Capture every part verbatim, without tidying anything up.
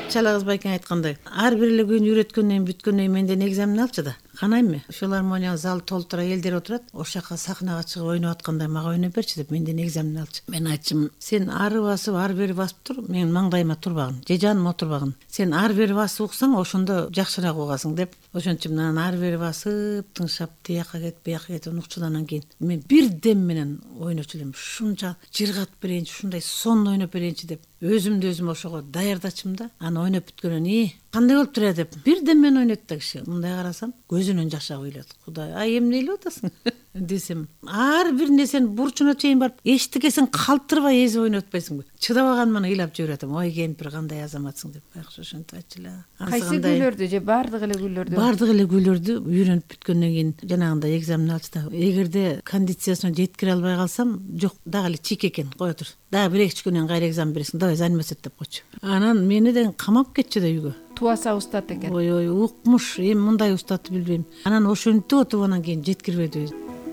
Чалагыз байкең айткандай, ар бир эле күн үйрөткөндөн бүткөндөн менден экзамен алчы да. Канайм филармония зал толтура элдер отурат. Ошол жака сахнага чыгып ойноп атканда мага ойноп берчи деп менден экзамен алчы. Мен айтчым, сен ары басып, ары бери басып тур, мен маңдайыма турбагын, же жаныма отурбагын. Сен ары бери басып уксаң, ошондо жакшыраак угасың деп. Ошончо анан ары бери басып, тыңшап, тияка кет, бияка кет укчу. Анан кийин мен бир дем менен ойночу элем. Ушунча жыргатып берейинчи, ушундай сонун ойноп берейинчи деп өзүмдү өзүм ошого даярдачым да. Анан ойноп бүткөндөн кийин кандай болуп турат деп бир дем менен ойнойт да киши. Мындай карасам, көзүнөн жаш агып ыйлат. Кудай, ай эмне ыйлап атасың десем, ар бир нерсени бурчуна чейин барып, эчтекесин калтырбай эзип ойноп атпайсыңбы? Чыдабаганман ыйлап жиберип атам. Ой, кемпир кандай азаматсың деп. Байкуш ошентип айтчу эле. Кайсы күйлөрдү же бардык эле күйлөрдү? Бардык эле күйлөрдү үйрөнүп бүткөндөн кийин жанагындай экзамен алчу да. Эгерде кондициясына жеткире албай калсам, жок, дагы эле чийик экен, кое тур. Дагы бир эки күнөн кайра экзамен бересиң, давай заниматься деп койчу. Анан мени да камап кетчү да үйгө. Туаса устат экен. Ой, ой, укмуш, эми мындай устатты билбейм. Анан ошентип отуп анан кийин жеткирбеди.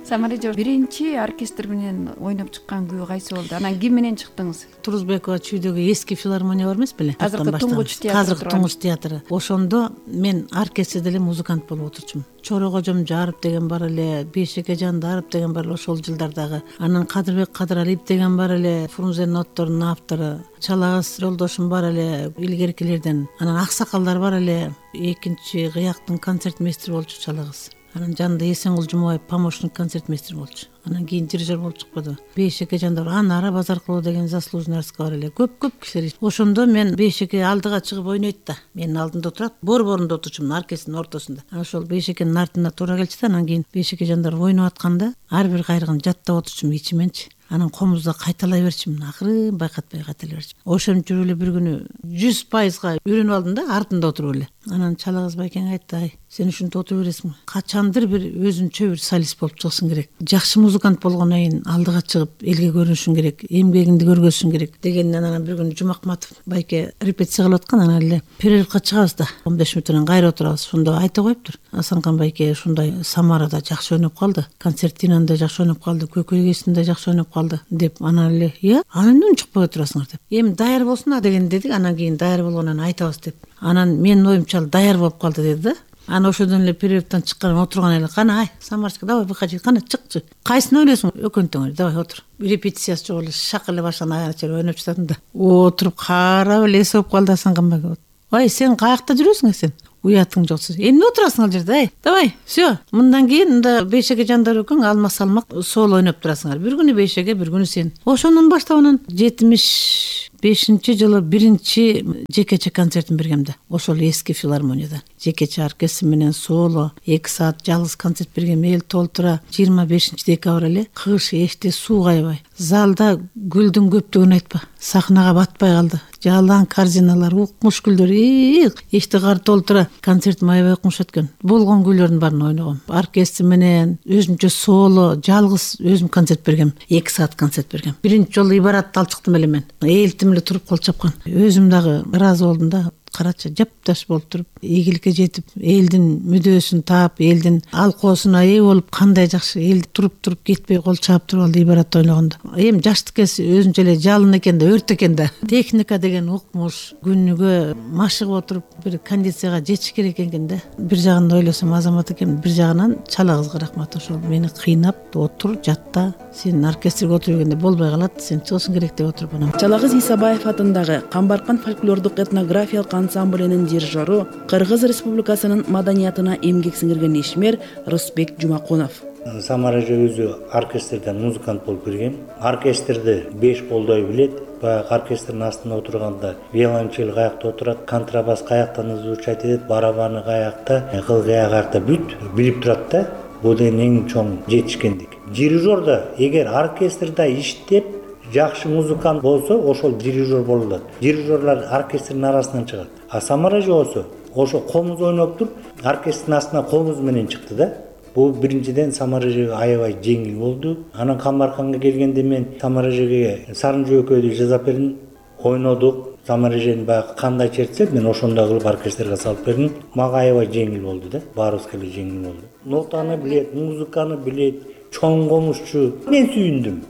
Самара эже биринчи оркестр менен ойноп чыккан күү кайсы болду? Анан ким менен чыктыңыз? Турузбекова чүйдөгү эски филармония бар эмес беле? Азыркы Туңгуч театры. Азыркы Туңгуч театры. Ошондо мен оркестрде эле музыкант болуп отурчумун. Чора Кожом Жарып деген бар эле, Бейшеке Жандарып деген бар эле ошол жылдардагы. Анан Кадырбек Кадыралиев деген бар эле, Фрунзенин отторунун автору. Чалагыз жолдошум бар эле, илгеркилерден. Анан аксакалдар бар эле. Экинчи кыяктын концертмейстери болчу Чалагыз. Анан жанында Эсенгул Жумабаев помощник концертмейстер болчу. Анан кийин дирижер болуп чыкпады. Бейшеке Жандар, Анара Базаркулова деген заслуженный артистка бар эле. Көп-көп кишилер. Ошондо мен Бейшеке алдыга чыгып ойнойт да. Менин алдымда отурат, бор-борунда отурчумун, оркестрдин ортосунда. Анан ошол Бейшекенин артына туура келчү да, анан кийин Бейшеке Жандар ойноп атканда ар бир кайрыгын жаттап отурчумун ичименчи. Анан комузда кайталай берчимин, акырын байкатпай кайталай берчимин. Ошентип жүрүп эле бир күнү жүз пайызга үйрөнүп алдым да, артында отуруп эле. Анан Чалагыз байкең айтты, ай, сен ушинтип отура бересиң. Качандыр бир өзүнчө бир солист болуп чыгышың керек. Жакшы музыкант болгондон кийин алдыга чыгып элге көрүнүшүң керек, эмгегиңди көргөзүшүң керек дегенден анан бир күнү Жумакматов байке репетиция кылып аткан, анан эле перерывга чыгабыз да, он беш мүнөттөн кайра отурабыз. Ошондо айта коюптур. Асанкан байке ушундай Самарада жакшы ойноп калды, концертинада жакшы ойноп калды, Көкөйгесинде жакшы ойноп калды деп. Анан эле, "Иә, анан эмне чыкпай отурасыңар" деп. "Эми даяр болсун а" деген дедик. Анан кийин даяр болгондон айтабыз деп. Анан менин оюмча даяр болуп калды деди да. Анан ошодон эле перерывдан чыккан отурган эле, "Кана, ай, Самарчика, давай быкачы, кана чыкчы. Кайсыны ойлойсуң? Өкөнтөңөр, давай отур." Репетициясы жок эле шак эле башынан аягына чейин ойноп жататым да. Отуруп карап эле эсеп калды Асанкан байке. "Ай, сен каякта жүрөсүң сен? Уятың жок сен. Эмне отурасың ал жерде, ай? Давай, всё. Мындан кийин мында Бейшеке Жандар экөөң алма салмак соло ойноп турасыңар. Бир күнү Бейшеке, бир күнү сен." Ошондон баштап анан жетимиш бешинчи жылы биринчи жекече концертин бергем да. Ошол эски филармонияда. Жекече оркестр менен соло эки саат жалгыз концерт бергем, эл толтура. жыйырма бешинчи декабрь эле кыш эште суу кайбай. Залда гүлдүн көптүгүн айтпа. Сахнага батпай калды. Жалаң корзиналар, укмуш гүлдөр, эште кар толтура. Концерт аябай укмуш өткөн. Болгон күйлөрдүн баарын ойногом. Оркестр менен өзүмчө соло, жалгыз өзүм концерт бергем. эки саат концерт бергем. Биринчи жолу ибаратты алып чыктым эле мен. Элтим эле туруп кол чапкан. Өзүм дагы ыраазы болдум да. Карачы жапташ болуп туруп, ийгиликке жетип, элдин мүдөөсүн таап, элдин алкоосуна ээ болуп, кандай жакшы эл туруп-туруп кетпей кол чаап туруп алды ибаратты ойногондо. Эми жаштыккеси өзүнчө эле жалын экен да, өрт экен да. Техника деген укмуш, күнүгө машыгып отуруп бир кондицияга жетиш керек экен да. Бир жагынан ойлосом азамат экен, бир жагынан Чалагызга рахмат. Ошол мени кыйнап, отур, жатта, сен оркестрге отуруп жүргөндө болбой калат, сен чыгышың керек деп отуруп анан. Чалагыз Исабаев атындагы Камбаркан фольклордук этнографиялык ансамблинин дирижеру, Кыргыз Республикасынын маданиятына эмгек сиңирген ишмер Рысбек Жумакунов. Самара эже өзү оркестрден музыкант болуп кирген. Оркестрди беш колдой билет. Баягы оркестрдин астында отурганда виолончель каякта отурат, контрабас каяктан звучать этет, барабаны каякта, кыл каякта бүт билип турат да. Бул деген эң чоң жетишкендик. Дирижер да эгер оркестрда иштеп жакшы музыкант болсо, ошол дирижер болот. Дирижерлар оркестрдин арасынан чыгат. А Самара эже болсо, ошо комуз ойноп туруп, оркестрдин астына комуз менен чыкты да. Бул биринчиден Самара эжеге аябай жеңил болду. Анан Камбарканга келгенде мен Самара эжеге Сарын жөөкөйдү жасап бердим, ойнодук. Самара эжени баягы кандай чертсе, мен ошондой кылып оркестрге салып бердим. Мага аябай жеңил болду да. Баарыбызга эле жеңил болду. Нотаны билет, музыканы билет, чоң комузчу. Мен сүйүндүм.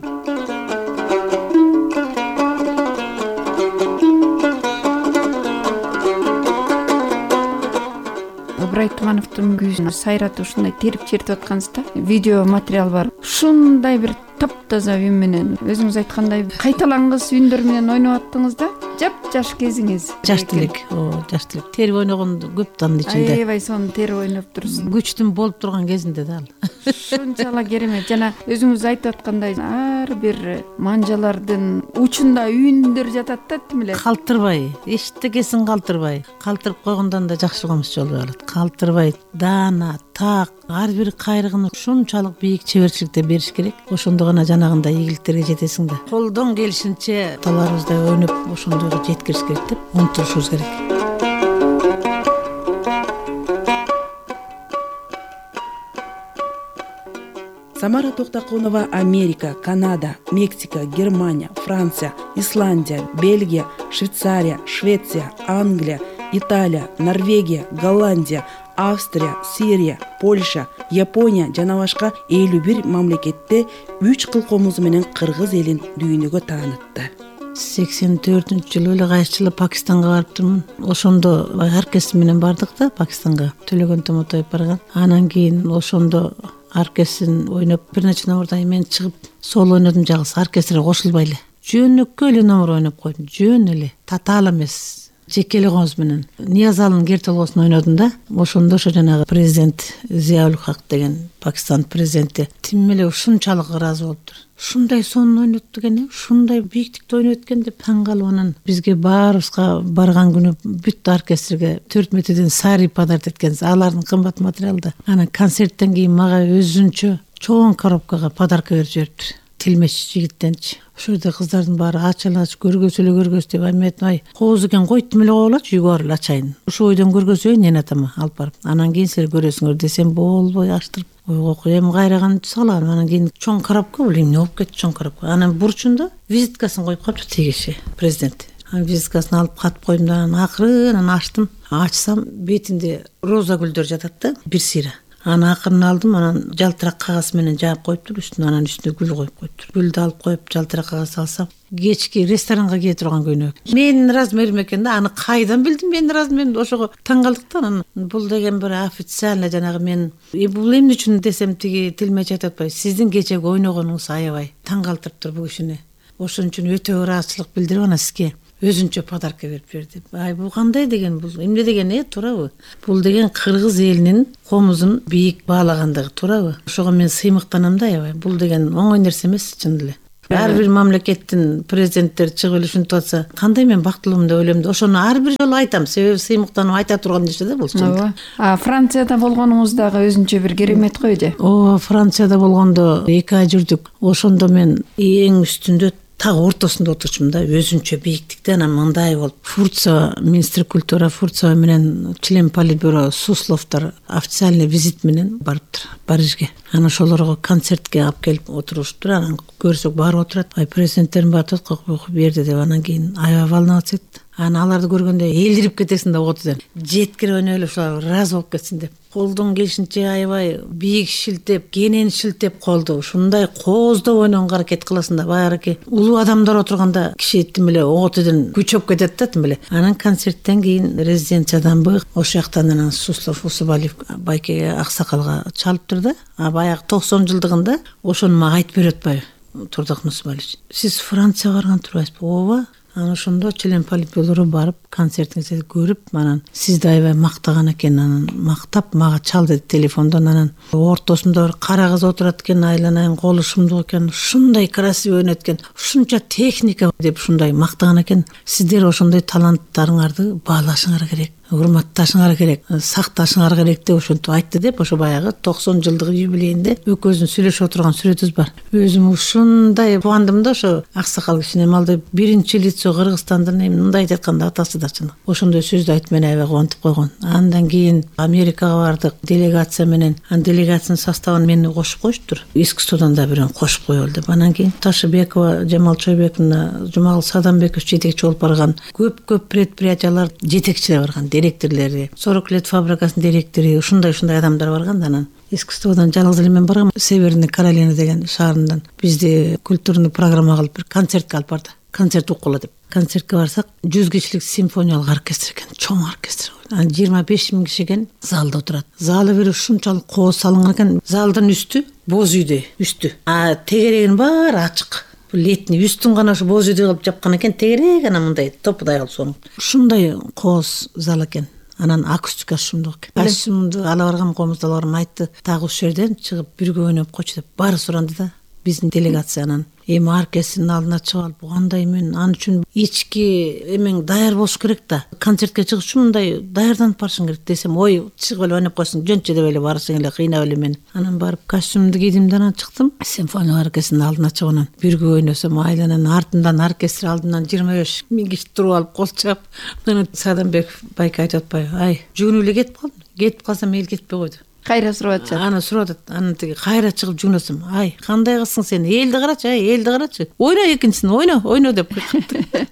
Айтмановдун күүсүн сайратып ушундай терип чертип аткансыз да. Видео материал бар. Ушундай бир таптаза үн менен өзүңүз айткандай кайталангыс үндөр менен ойноп аттыңыз да. Жап-жаш кезиңиз. Жаш элек, о, жаш элек. Терип ойногонду көп да анын ичинде. Аябай сонун терип ойноп турсуз. Күчтүн болуп турган кезинде да ал. Ушунчалык керемет. Жана өзүңүз айтып аткандай ар бир манжалардын учунда үндөр жатат да, тим эле. Калтырбай, эчтекесин калтырбай. Калтырып койгондон да жакшы комуз болбой калат. Калтырбай, даана, так, ар бир кайрыгын ушунчалык бийик чеберчиликте бериш керек. Ошондо гана жанагындай ийгиликтерге жетесиң да. Колдон келишинче таларыбыздай ойноп ошондойго жеткириш керек деп умтулушубуз керек. Самара Токтоконова Америка, Канада, Мексика, Германия, Франция, Исландия, Бельгия, Швейцария, Швеция, Англия, Италия, Норвегия, Голландия, Австрия, Сирия, Польша, Япония жана башка элүү бир мамлекетте үч кыл комузу менен кыргыз элин дүйнөгө таанытты. сексен төртүнчү жылы эле кайсы жылы Пакистанга барып турмун. Ошондо оркестр менен бардык да Пакистанга. Төлөгөн Томотоев барган. Анан кийин ошондо оркестрин ойноп бир нече номурдан кийин мен чыгып соло ойнодум жалгыз, оркестрге кошулбай эле. Жөнөкөй эле номер ойноп койдум. Жөн эле, татаал эмес. Жеке эле комуз менен Ниязалдын кер толгосун ойнодум да. Ошондо ошо жанагы президент Зияул Хак деген Пакистан президенти тим эле ушунчалык ыраазы болуптур. Ушундай сонун ойнотту экен, ушундай бийиктикте ойнойт экен деп таң калып анан бизге баарыбызга барган күнү бүт оркестрге төрт метрден сари подарок эткенбиз. Алардын кымбат материалы да. Анан концерттен кийин мага өзүнчө чоң коробкага подарок берип жибериптир. Тилмеш жигиттенчи. Ошол жерде кыздардын баары ачалач көргөзө эле көргөз деп айметип, ай кооз экен койтум эле коелочу, үйгө барып ачайын. Ошол бойдон көргөзөйүн эне атама алып барып. Анан кийин силер көрөсүңөр десем болбой ачтырып ойго коем, кайраган салам. Анан кийин чоң коробка, бул эмне болуп кетти чоң коробка. Анан бурчунда визиткасын коюп калыптыр тигиши президент. Анан визиткасын алып катып койдум да анан акырын ачтым. Ачсам бетинде роза гүлдөр жатат да, бир сыйра. Анан акырын алдым, анан жалтырак кагаз менен жаап коюптур, үстүнө анан үстүнө гүл коюп коюптур. Гүлдү алып коюп жалтырак кагаз алсам, кечки ресторанга кете турган көйнөк. Менин размерим экен да, аны кайдан билдим менин размеримди? Ошого таң калдык да. Анан бул деген бир официально жанагы мен бул эмне үчүн десем тиги тилмеч айтып атпайбы, сиздин кечеги ойногонуңуз аябай таң калтырыптыр бул кишини. Ошон үчүн өтө ыраазычылык билдирип анан сизге өзүнчө подарок берип берди. Ай бул кандай деген, бул эмне деген, э туурабы? Бул деген кыргыз элинин комузун бийик баалагандыгы, туурабы? Ошого мен сыймыктанам да аябай. Бул деген оңой нерсе эмес чын эле. Ар бир мамлекеттин президенттери чыгып эле ушинтип атса, кандай мен бактылуумун деп ойлойм да. Ошону ар бир жолу айтам, себеби сыймыктанып айта турган нерсе да бул чын. А Францияда болгонуңуз дагы өзүнчө бир керемет го же? О, Францияда болгондо эки ай жүрдүк. Ошондо мен эң үстүндө так ортосунда отурчумун да, өзүнчө бийиктикте. Анан мындай болуп, Фурцова, министр культура Фурцова менен член политбюро Сусловдор официальный визит менен барыптыр Парижге. Анан ошолорго концертке алып келип отуруштур. Анан көрсөк барып отурат. Ай президенттерим батып койгуп берди деп анан кийин аябай волноваться этти. Анан аларды көргөндө элдирип кетесиң да отудан. Жеткирип ойноп эле ушулар ыраазы болуп кетсин деп. Колдон келишинче аябай бийик шилтеп, кенен шилтеп колду. Ушундай кооздоп ойногонго аракет кыласың да, баягы улуу адамдар отурганда киши тим эле отудан күчөп кетет да тим эле. Анан концерттен кийин резиденциядан бык ошол жактан анан Суслов Усубалиев байкеге аксакалга чалыптыр да. А баягы токсон жылдыгында ошону мага айтып берип атпайбы Турдак Нусубалиевич? Сиз Францияга барган турбайсызбы? Ооба. Анан ошондо член политбюро барып концертиңизди көрүп, анан сизди аябай мактаган экен. Анан мактап мага чал деди телефондон. Анан ортосунда бир кара кыз отурат экен, айланайын колу шумдук экен, ушундай красивый ойнойт экен, ушунча техника деп ушундай мактаган экен. Сиздер ошондой таланттарыңарды баалашыңар керек, урматташыңар керек, сакташыңар керек деп ошентип айтты деп, ошо баягы токсон жылдык юбилейинде экөөбүздүн сүйлөшүп отурган сүрөтүбүз бар. Өзүм ушундай кубандым да ошо аксакал кишине. Малды биринчи лицо Кыргызстандын мындай айтып атканда атасы да чын. Ошондой сөздү айтып мени аябай кубантып койгон. Андан кийин Америкага бардык делегация менен. Анан делегациянын составын мени кошуп коюштур. Искусстводан да бирөө кошуп коелу деп. Анан кийин Ташыбекова, Жамал Чойбековна, Жумагул Садамбеков жетекчи болуп барган көп-көп предприятиялар жетекчилери барган, директорлори, сорок лет фабрикасынын директори, ушундай-ушундай адамдар барган да. Анан искусстводан жалгыз эле мен баргам. Северный Каролина деген шаарынан бизди культурный программа кылып бир концертке алып барды. концерт уккула деп. Концертке барсак жүз кишилик симфониялык оркестр экен, чоң оркестр. Анан жыйырма беш миң киши экен залда отурат. Залы бир ушунчалык кооз салынган экен. Залдын үстү боз үйдөй, үстү. А тегерегинин баары ачык. Летний үстүн гана ушу боз үйдөй кылып жапкан экен, тегереги гана мындай топудай кылып сонун. Ушундай кооз зал экен. Анан акустика шумдук экен. Костюмду ала баргам, комузду ала баргам, айтты, тагы ушул жерден чыгып бирге ойноп койчу деп. Баары суранды да. Биздин делегациянан эми оркестрдин алдына чыгып алып, кандай мен ал үчүн ички эмең даяр болуш керек да. Концертке чыгыш үчүн мындай даярданып барышың керек десем, ой, чыгып эле ойноп койсуң, жөнчө деп эле барышың эле, кыйнап эле мени. Анан барып костюмду кийдим да анан чыктым. Симфония оркестринин алдына чыгып анан бирге ойносом, айланан артымдан оркестр алдынан жыйырма беш миң киши туруп алып кол чаап, анан Садамбеков байке айтып атпайбы, ай, жүгүнүп эле кетип калдым. Кетип калсам эл кетпей койду. Кайра сурап атышат. Аны сурап атат. Анан тиги кайра чыгып жүгүнөсүм. Ай, кандай кылсың сен? Элди карачы, ай, элди карачы. Ойно экинчисин, ойно, ойно деп кыйкырды.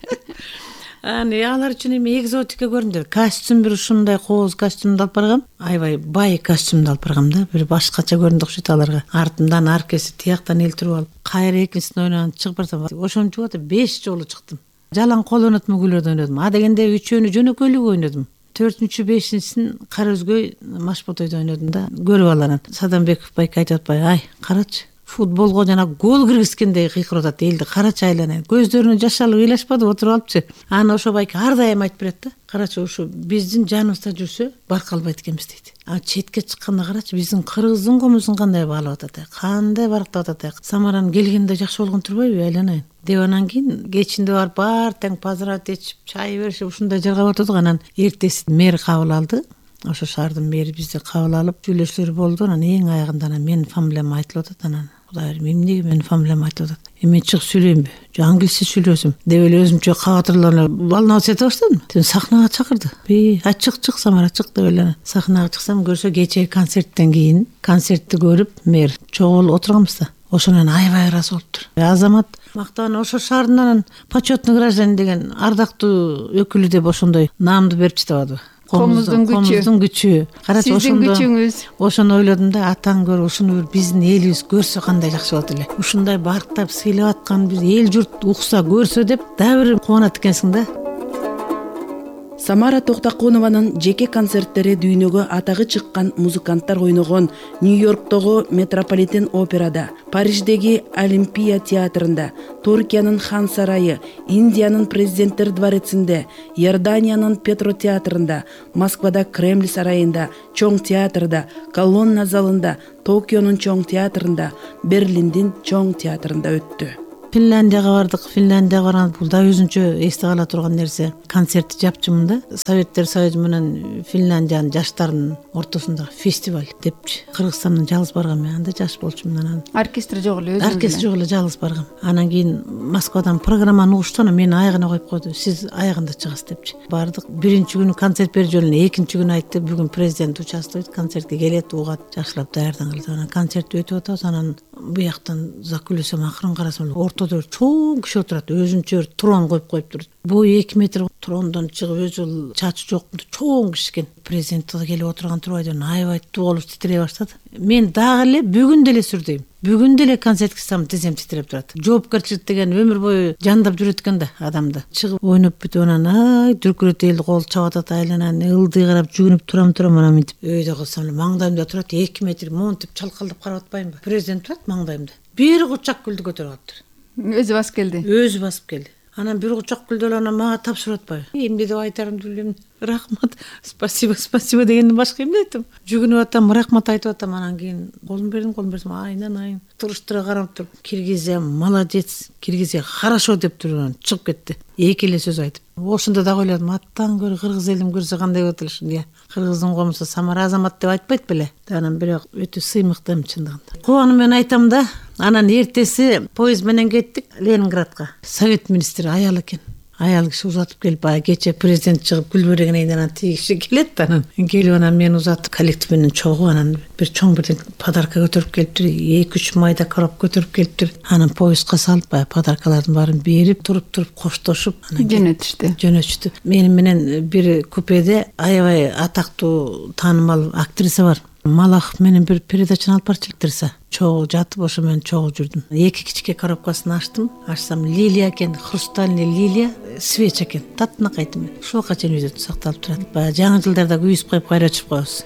Аны алар үчүн эми экзотика көрүндү. Костюм бир ушундай кооз костюмду алып баргам. Аябай бай костюмду алып баргам да. Бир башкача көрүндү окшойт аларга. Артымдан оркестр, тияктан эл туруп алып, кайра экинчисин ойногон чыгып барсам, ошончо атып беш жолу чыктым. Жалаң кол ойнотмо күйлөрдү ойнодум. А дегенде үчөөнү жөнөкөйлүк ойнодум. төртүнчү бешинчисин кара өзгөй Машботойдо ойнодум да. Көрүп аларан Садамбеков байке айтып атпайбы, ай, карачы. Футболго жана гол киргизгендей кыйкырып атат элди. Карачы айланайын. Көздөрүнө жаш алып ыйлашпады, отуруп алыпчы. Аны ошо байке ар дайым айтып берет да. Карачы, ушу биздин жаныбызда жүрсө баркалбайт экенбиз дейт. А четке чыкканда карачы, биздин кыргыздын комузун кандай баалап атат, кандай барктап атат. Самаран келгенде жакшы болгон турбайбы, айланайын деп. Анан кийин кечинде барып бар тең поздравить этип, чай беришип ушундай жаргап атат. Анан эртеси мэр кабыл алды. Ошо шаардын мэри бизди кабыл алып сүйлөшүүлөр болду. Анан эң аягында анан менин фамилиям айтылып атат. Анан Кудай берим, эмнеге менин фамилиям айтылып атат? Эми чыгып сүйлөймүнбү? Же англисче сүйлөсөм деп эле өзүмчө кабатырланып волноваться эте баштадым. Тен сахнага чакырды. Би ачык чык Самара чык деп эле сахнага чыксам, көрсө кечээ концерттен кийин концертти көрүп мэр чогуу отурганбыз да. Ошонан аябай ыраазы болуптур. Азамат мактан ошо шаардын почетный гражданин деген ардактуу өкүлү деп ошондой наамды берип жатабадыбы? Комуздун күчү. Комуздун күчү. Карачы, сиздин күчүңүз. Ошону ойлодум да, атаң көрүп ушуну бир биздин элибиз көрсө кандай жакшы болот эле. Ушундай барктап сыйлап аткан биз эл журт укса, көрсө деп дагы бир кубанат экенсиң да. Самара Токтокунованын жеке концерттери дүйнөгө атагы чыккан музыканттар ойногон Нью-Йорктогу Метрополитен операда, Париждеги Олимпия театрында, Туркиянын Хан сарайы, Индиянын Президенттер дворецинде, Иорданиянын Петро театрында, Москвада Кремль сарайында, Чоң театрда, Колонна залында, Токионун Чоң театрында, Берлиндин Чоң театрында өттү. Финляндияга бардык. Финляндияга барганда бул да өзүнчө эсте кала турган нерсе. Концертти жапчымын да. Советтер Союзу менен Финляндиянын жаштарынын ортосундагы фестиваль депчи. Кыргызстандан жалгыз баргам мен. Анда жаш болчумун. Анан оркестр жок эле, өзүңүз. Оркестр жок эле, жалгыз баргам. Анан кийин Москвадан программаны угушту, анан мени аягына коюп койду. Сиз аягында чыгасыз депчи. Бардык. Биринчи күнү концерт берип жөнүнө, экинчи күнү айтты, бүгүн президент участвует, концертке келет, угат, жакшылап даярдаңыз. Анан концерт өтүп атабыз. Анан буяктан закүлөсөм, акырын карасам ортодо чоң киши отурат, өзүнчө трон коюп коюптур. Бою эки метр трондон чыгып, өзү чачы жок, чоң киши экен. Президент да келип отурган турбайды, аябай тоолуп титирей баштады. Мен дагы эле бүгүн деле сүрдөйм. Бүгүн деле концертке чыксам тизем титиреп турат. Жоопкерчилик деген өмүр бою жандап жүрөт экен да адамды. Чыгып ойноп бүтүп анан ай дүркүрөт элди кол чабат атат, айланан ылдый карап жүгүнүп турам турам анан мынтип өйдө кылсам эле маңдайымда турат, эки метр монтип чалкалдап карап атпаймынбы? Президент турат маңдайымда. Бир кучак гүлдү көтөрүп алыптыр. Өзү басып келди. Өзү басып келди. Анан бир кучак гүлдү анан мага тапшырып атпайбы? Эмне деп айтарымды билбейм. Рахмат, спасибо, спасибо дегенден башка эмне айтам? Жүгүнүп атам, рахмат айтып атам. Анан кийин колун бердим, колун берсем айнанайын туруштура карап туруп, Киргизия молодец, Киргизия хорошо деп туруп анан чыгып кетти. Эки эле сөз айтып. Ошондо да ойлодум, аттан көрө кыргыз элин көрсө кандай болот эле ушун. Кыргыздын комусу Самара Азамат деп айтпайт беле. Анан бирок өтө сыймыктым чындыгында. Кубанып менен айтам да. Анан эртеси поезд менен кеттик Ленинградка. Совет министри аял экен. Аял киши узатып келип, баягы кече президент чыгып гүл берегенен анан тиги киши келет да, анан келип анан мени узатып коллектив менен чогуу анан бир чоң бир подарка көтөрүп келиптир, эки үч майда коробка көтөрүп келиптир. Анан поездга салып, баягы подаркалардын баарын берип, туруп-туруп коштошуп, анан жөнөтүштү. Жөнөтүштү. Мени менен бир купеде аябай атактуу таанымал актриса бар. Малахов менен бир передачаны алып барчу электирса, чогуу жатып ошо менен чогуу жүрдүм. Эки кичке коробкасын ачтым. Ачсам лилия экен, хрустальный лилия, свеча экен. Таптынакай этим. Ушуга чейин үйдө сакталып турат. Баягы жаңы жылдарда күйүзүп коюп кайра өчүп коебуз.